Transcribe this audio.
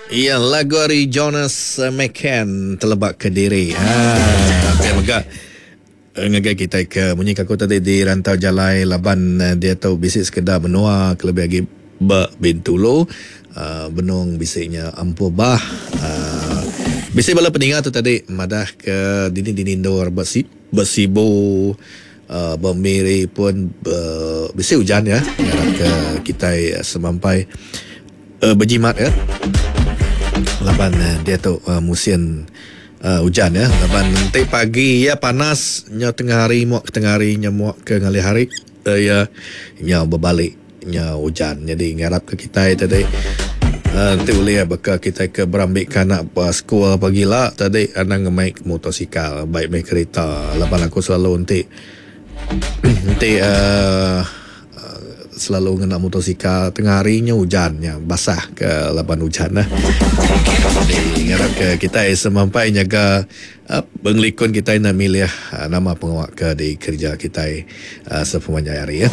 Iya lagu ari Jonas McCann teleba kediri. Ha pia mega ngagai kitai ke munyi ke aku tadi di rantau jalai laban diatu bisi sekeda menua kelebih agi ba Bintulu uhh benung bisi nya ampuh bah uhh bisi bala peninga tu tadi madah ke dini dini endur ba ba Sibu uhh ba Miri pun uhh bisi ujan ya ngarap ke kitai semampai. Bejimat ya laban diatu musin ujan ya laban enti pagi iya panas nyau tengah hari muak ke tengah hari nyau muak ke ngalih hari iya nyau bebali nyau ujan jadi ngarap ke kitai tadi enti ulih baka kitai ke berambi ke anak ba sekul pagila tadi anang ngemai motosikal bai meh kerita laban aku selalu enti enti uhh Selalu ngena motosikal tengah hari nya ujan nya basah ke laban ujan nah. Jadi ngarap ke kitai semampai nyaga pengelikun kitai enda milih nama pengawa ke dikereja kitai sepemanjai hari ya.